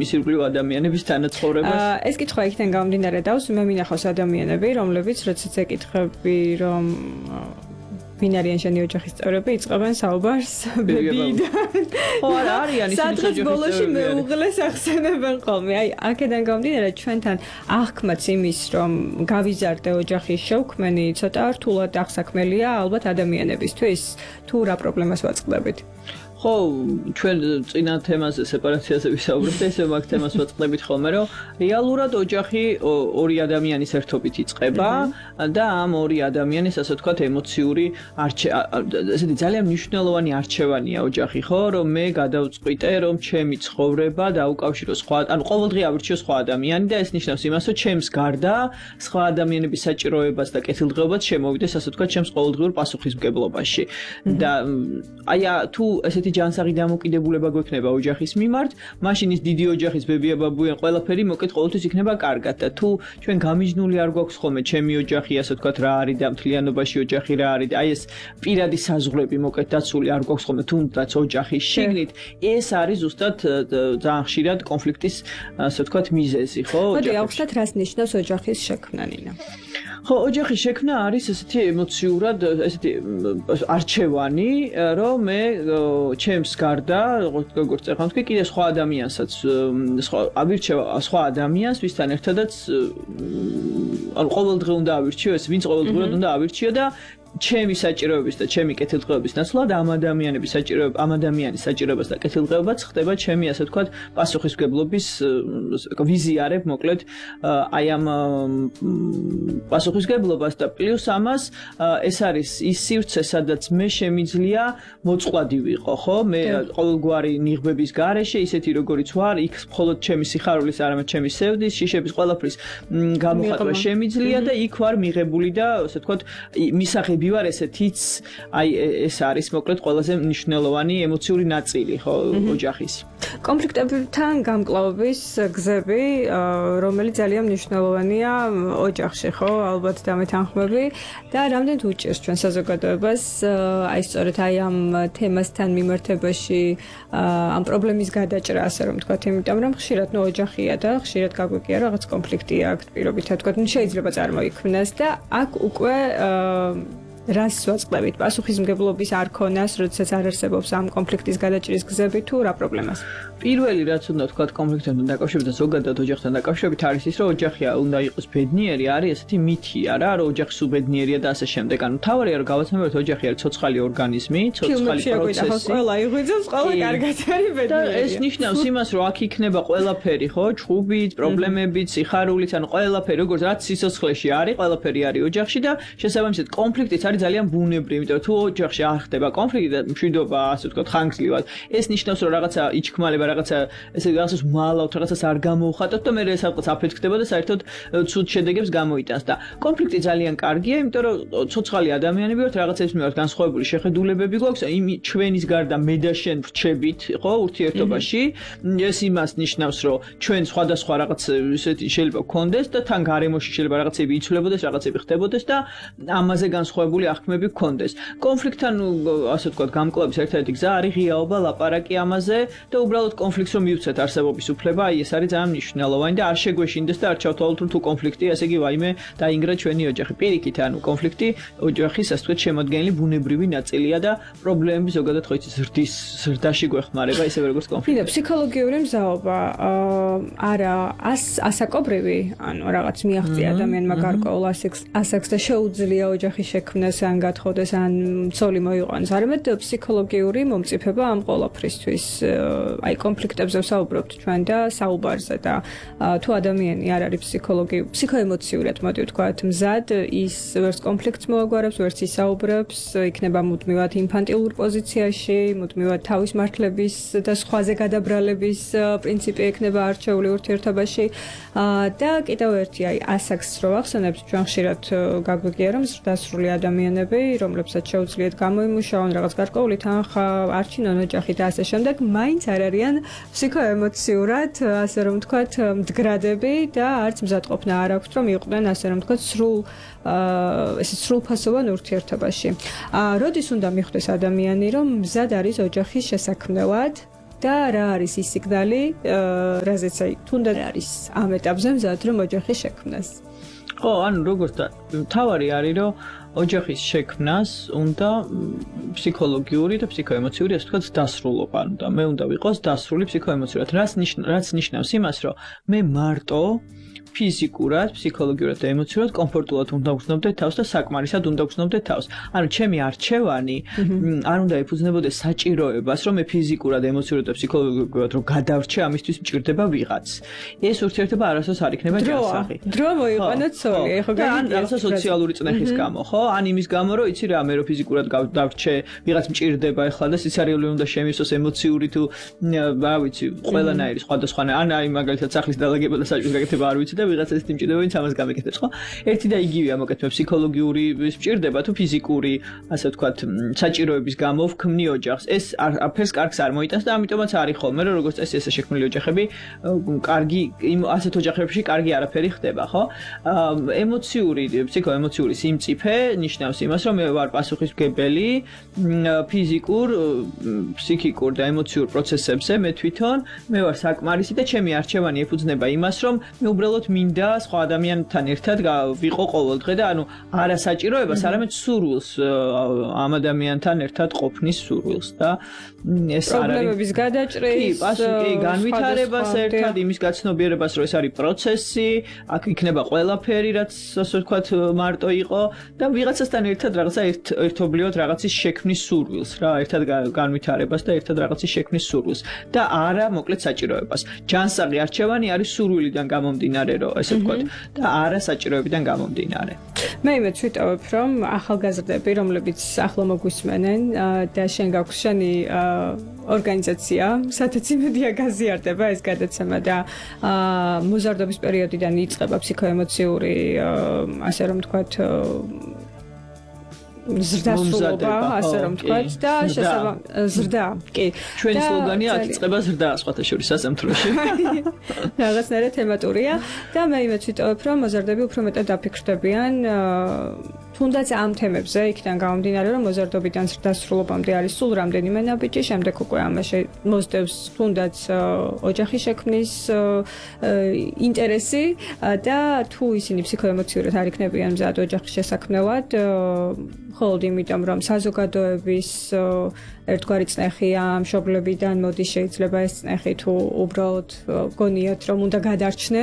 მისი ირგვლივ ადამიანების თანაცხოვრებას? ეს კითხვა იქიდან გამომდინარე დავს, მე მინახავს ადამიანები, რომლებიც როდესაც ეკითხები, რომ ვინ არიან შენი ოჯახის წევრები, იწყებენ საუბარს ბებიიდან. ხო, არა, არიან ისინი ოჯახის ბოლოში მეუღლეს ახსენებენ ხოლმე. აი, აქედან გამომდინარე, ჩვენთან აღქმაც იმის, რომ გავიზარდე ოჯახის შევქმენი, ცოტა რთულად აღსაქმელია ალბათ ადამიანებისთვის, თუ რა პრობლემას ვაწყდებით. ხო, ჩვენ წინა თემაზე სეპარაციაზე ვისაუბრებთ, ესე მაგ თემას ვაწყდებით ხოლმე, რომ რეალურად ოჯახი ორი ადამიანის ერთობით იწყება და ამ ორი ადამიანის, ასე ვთქვათ, ემოციური ესეთი ძალიან მნიშვნელოვანი არჩევანია ოჯახი, ხო, რომ მე გადავწყვიტე, რომ ჩემი ცხოვრება დაუკავშირო სხვა, ანუ ყოველდღე ავირჩიო სხვა ადამიანი და ეს ნიშნავს იმას, რომ ჩემს გარდა სხვა ადამიანების საჭიროებას და კეთილდღეობას შემოვიდეს, ასე ვთქვათ, ჩემს ყოველდღიურ პასუხისმგებლობაში. და აი თუ ესეთი ჯანსაღი დამოკიდებულება გვექნება ოჯახის მიმართ, მაშინ ის დიდი ოჯახის ბებია ბაბუიან ყველაფერი მოკეთ ყოველთვის იქნება კარგად და თუ ჩვენ გამიჯნული არ გვაქვს ხოლმე ჩემი ოჯახი, ასე ვთქვათ, რა არის და მთლიანობაში ოჯახი რა არის და აი ეს პირადი საზღვრები მოკეთ დაცული არ გვაქვს ხოლმე თუნდაც ოჯახის შიგნით, ეს არის ზუსტად ძალიან ხშირად კონფლიქტის, ასე ვთქვათ, მიზეზი, ხო? მოდი ავხსნათ, რას ნიშნავს ოჯახის შექმნა, ნინა? ხო, ოჯახის შექმნა არის ესეთი ემოციურად, ესეთი არჩევანი, რომ მე ჩემს გარდა, როგორც ეხლა თქვი, კიდე სხვა ადამიანსაც, ავირჩევ სხვა ადამიანს, ვისთან ერთადაც, ანუ ყოველდღე უნდა ავირჩიო, ეს ვინც ყოველდღურად უნდა ავირჩიო და ჩემი საჭიროების და ჩემი კეთილდღეობის ნაცვლად ამ ადამიანის საჭიროებას და კეთილდღეობაც ხდება ჩემი, ასე ვთქვათ, პასუხისმგებლობის ვიზიარებ, მოკლედ, აი ამ პასუხისმგებლობას და პლუს ამას ეს არის ის სივრცე, სადაც მე შემიძლია მოწყვლადი ვიყო, ხო? მე ყოველგვარი ნიღბების გარეშე, ისეთი როგორიც ვარ, იქ მხოლოდ ჩემი სიხარულის, არამედ ჩემი სევდის, შიშების ყველაფრის გამოხატვა შემიძლია და იქ ვარ მიღებული და, ასე ვთქვათ, მისაღები ვარ ესეთიც, აი ეს არის მოკლედ ყველაზე მნიშვნელოვანი ემოციური ნაწილი, ხო, ოჯახის. კონფლიქტებთან გამკლავების გზები, რომელიც ძალიან მნიშვნელოვანია ოჯახში, ხო, ალბათ დამეთანხმები და რამდენად უჭირს ჩვენ საზოგადოებას, აი სწორედ აი ამ თემასთან მიმართებაში, ამ პრობლემის გადაჭრა, ასე რომ ვთქვათ, იმიტომ რომ ხშირად ოჯახია და ხშირად გაგვიგია რაღაც კონფლიქტია აქ პირობითად ვთქვათ, შეიძლება წარმოიქმნას და აქ უკვე რას ვაწყდებით? პასუხისმგებლობის არ ქონას, როდესაც არ არსებობს ამ კონფლიქტის გადაჭრის გზები თუ რა პრობლემას? პირველი რაც უნდა ვთქვათ კონფლიქტთან დაკავშირებით და ზოგადად ოჯახთან დაკავშირებით არის ის, რომ ოჯახი უნდა იყოს ბედნიერი, არის ესეთი მითია რა, რომ ოჯახი სუბედნიერია და ასე შემდეგ. ანუ თავარია რომ გავაცნობოთ ოჯახი არის ცოცხალი ორგანიზმი, ცოცხალი პროცესი. ყველა იღვიძებს, ყველა კარგად არის ბედნიერი. და ეს ნიშნავს იმას, რომ აქ იქნება ყველაფერი, ხო, ჩხუბით, პრობლემებით, სიხარულით, ანუ ყველაფერი, როგორც რაც სიცოცხლეში არის, ყველაფერი არის ოჯახში და შესაბამისად კონფლიქტიც არის ძალიან ბუნებრივი, იმიტომ რომ თუ ოჯახში არ ხდება კონფლიქტი და მშვიდობა, ასე ვთქვათ, ხანგრძლივად, ეს ნიშნავს, რომ რაღაცა იჩქმალება, რაღაცა ესე რაღაცას მალავთ, რაღაცას არ გამოუხატოთ და მე სადღაც აფეთქდება და საერთოდ ცუდ შედეგებს გამოიტანს და კონფლიქტი ძალიან კარგია, იმიტომ რომ ცოცხალი ადამიანები ვართ, რაღაცების მიმართ განსხვავებული შეხედულებები გვაქვს, ჩვენის გარდა მე და შენ ვრჩებით, ხო, ურთიერთობაში. ეს იმას ნიშნავს, რომ ჩვენ სხვადასხვა რაღაც ისეთი შეიძლება გქონდეს და თან გარემოში შეიძლება რაღაცები იცვლებოდეს, რაღაცები ხდებოდეს და ამაზე განსხვავებული აღქმები გქონდეს. კონფლიქტთან, ასე ვთქვათ, გამკლავის ერთ-ერთი გზა არის ღიაობა, ლაპარაკი ამაზე და უბრალოდ კონფლიქტს რომ მივცეთ არსებობის უფლება, აი ეს არის ძალიან მნიშვნელოვანი და არ შეგვეშინდეს და არ ჩავთვალოთ თუ კონფლიქტი, ასე იგი ვაიმე დაინგრა ჩვენი ოჯახი. პირიქით, ანუ კონფლიქტი ოჯახის, ასე ვთქვათ, შემადგენელი ბუნებრივი ნაწილია და პრობლემები ზოგადად ხო იცის ზრდაში გვეხმარება, ისევე როგორც კონფლიქტი. ფსიქოლოგიური მზაობა არა ასაკობრივი, ანუ რაღაც მიაღწია ადამიანმა გარკვეულ ასაკს და შეუძლია ოჯახის შექმნას ან გათხოვდეს ან ცოლი მოიყვანოს. არამედ ფსიქოლოგიური მომწიფება ამ ყველაფრისთვის. აი კონფლიქტებზე ვსაუბრობთ ჩვენ და საუბარზე და თუ ადამიანი არ არის ფსიქოემოციურად, მოდი ვთქვათ, მზად, ის ვერც კონფლიქტს მოაგვარებს, ვერც ისაუბრებს, იქნება მუდმივად ინფანტილურ პოზიციაში, მუდმივად თავის მართლების და სხვაზე გადაბრალების პრინციპი ექნება არჩეული ურთიერთობაში და კიდევ ერთი აი ასაკს რო ახსენებთ, ჩვენ ხშირად გაგვიგია რომ ზრდასრული ადამიანები, რომლებსაც შეუძლიათ გამოიმუშაონ რაღაც გარკვეული თანხა, არჩინონ ოჯახი და ასე შემდეგ, მაინც არ არიან ფსიქოემოციურად, ასე რომ ვთქვათ, მდგრადები და არც მზადყოფნა არ აქვთ, რომ იყვნენ, ასე რომ ვთქვათ, სრულფასოვან ურთიერთობაში. როდის უნდა მიხვდეს ადამიანი, რომ მზად არის ოჯახის შესაქმნელად და რა არის ის სიგნალი, რაზეც აი თუნდაც არის ამ ეტაპზე მზად რომ ოჯახი შექმნას. ხო, ანუ როგორც თავარი არის რომ ოჯახის შექმნას უნდა ფსიქოლოგიური და ფსიქოემოციური ასე ვთქვათ დასრულობა, ანუ და მე უნდა ვიყოს დასრული ფსიქოემოციურად, რაც ნიშნავს იმას, რომ მე მარტო ფიზიკურად, ფსიქოლოგიურად და ემოციურად კომფორტულად უნდა ვგრძნობდე თავს და საკმარისად უნდა ვგრძნობდე თავს. ანუ ჩემი არჩევანი არ უნდა ეფუძნებოდეს საჭიროებას, რომ მე ფიზიკურად, ემოციურად და ფსიქოლოგიურად რომ გადავრჩე, ამისთვის მჭირდება ვიღაც. ეს ურთიერთობა არასდროს არ იქნება ჯანსაღი. დრო მოიყვანოთ სოლი, ხო გაიგე? ან სოციალური წნეხის გამო, ხო? ან იმის გამო, რომ იცი რა, მე რო ფიზიკურად დავრჩე, ვიღაც მჭირდება ახლა და სიცარიელი უნდა შემისოს ემოციური თუ რა ვიცი, ყველანაირი სხვადასხვანაირი. ან აი მაგალითად სახლის დალაგება და საჭირო გაკეთება არ ვიცი და ვიღაც ეს იმჭირდება, ვინც ამას გამეკეთებს, ხო? ერთი და იგივეა მოკეთება ფსიქოლოგიური მჭირდება თუ ფიზიკური, ასე ვთქვათ, საჭიროების გამო ვქმნი ოჯახს. ეს არაფერს კარგს არ მოიტანს და ამიტომაც არის ხოლმე, რომ როგორც წესი ესე შექმნილი ოჯახები, კარგი ასეთ ოჯახებში კარგი არაფერი ხდება, ხო? ემოციური, ფსიქოემოციური სიმწიფე ნიშნავს იმას, რომ მე ვარ პასუხისმგებელი ფიზიკურ, ფსიქიკურ და ემოციურ პროცესებზე, მე თვითონ მე ვარ საკმარისი და ჩემი არჩევანი ეფუძნება იმას, რომ მე უბრალოდ მინდა სხვა ადამიანთან ერთად ვიყო ყოველდღე და ანუ არა საჭიროებას, არამედ სურვილს ამ ადამიანთან ერთად ყოფნის სურვილს და ეს არ არის პრობლემების გადაჭრის, კი, განვითარებას ერთად, იმის გაცნობიერებას, რომ ეს არის პროცესი, აქ იქნება ყველაფერი, რაც ასე ვთქვათ, მარტო იყო და ვიღაცასთან ერთად რაღაცა ერთობლივად რაღაცის შექმნის სურვილს რა, ერთად განვითარებას და ერთად რაღაცის შექმნის სურვილს და არა მოკლედ საჭიროებას. ჯანსაღი არჩევანი არის სურვილიდან გამომდინარე, რომ ესე ვთქვათ, და არა საჭიროებიდან გამომდინარე. მე იმედს ვიტოვებ, რომ ახალგაზრდები, რომლებიც ახლა მოგვისმენენ და შენ გაქვს შენი ორგანიზაცია, სადაც იმედია გაზიარდება ეს გადაცემა და მოზარდობის პერიოდიდან იწყება ფსიქოემოციური, ასე რომ ვთქვათ, ზრდასრულობა, ასე რომ ვთქვათ და ზრდა, კი. ჩვენი სლოგანია აქ იწყება ზრდა, სხვათა შორის სასამთროში. რაღაცნაირად თემატურია და მე იმედს ვიტოვებ, რომ მოზარდები უფრო მეტად დაფიქრდებიან თუნდაც ამ თემებზე, იქიდან გამომდინარე, რომ მოზარდობიდან ზრდასრულობამდე არის სულ რამდენიმე ნაბიჯი, შემდეგ უკვე ამაში მოსდევს თუნდაც ოჯახის შექმნის ინტერესი და თუ ისინი ფსიქოემოციურად არ იქნებიან მზად ოჯახის შესაქმნელად, მხოლოდ იმიტომ, რომ საზოგადოების ერთგვარი წნეხია მშობლებიდან მოდის, შეიძლება ეს წნეხი თუ უბრალოდ გონიათ, რომ უნდა გადარჩნენ